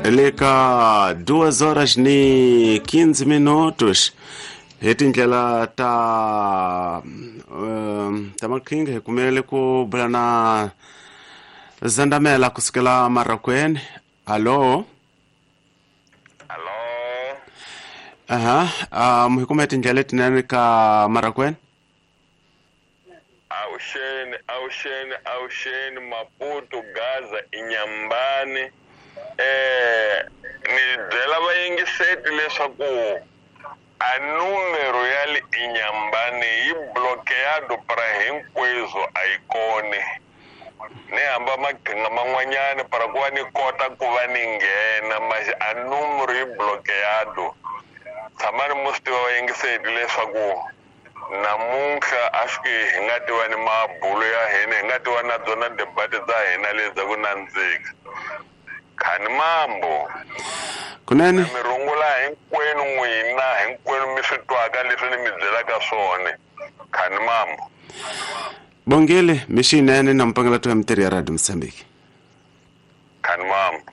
Le ka 2 horas ni 15 minutos hi tindlela ta ta maqhinga hi kumele ku bula na Zandamela kusukela Marakweni. Hallo. Hallo. Aha, hi kume tindlela letinene ka Marakweni. Awuxeni, awuxeni, awuxeni, Maputo, Gaza, Inyambani. Ni byela vayingiseti leswaku a numero ya le Inyambani yi bloqueado para hinkweswo a yi koni. Ni hamba maqhinga man'wanyana para ku va ni kota ku va ni nghena manje a numero yi bloqueado. Tshamani mo swi tiva vayingiseti leswaku namuntlha a swi hi nga tiva ni mabulo ya hina, hi nga tiva na byona debate ta hina leti ta ku nandzika. Khani mambo. Kunene. Mi rungula hinkwenu n'wina, hinkwenu mi swi twaka leswi ni mi byelaka swona. Khani mambo. Bongile, mixinene na mpangela to ya mitirho ya Radio Mozambique. Khani mambo.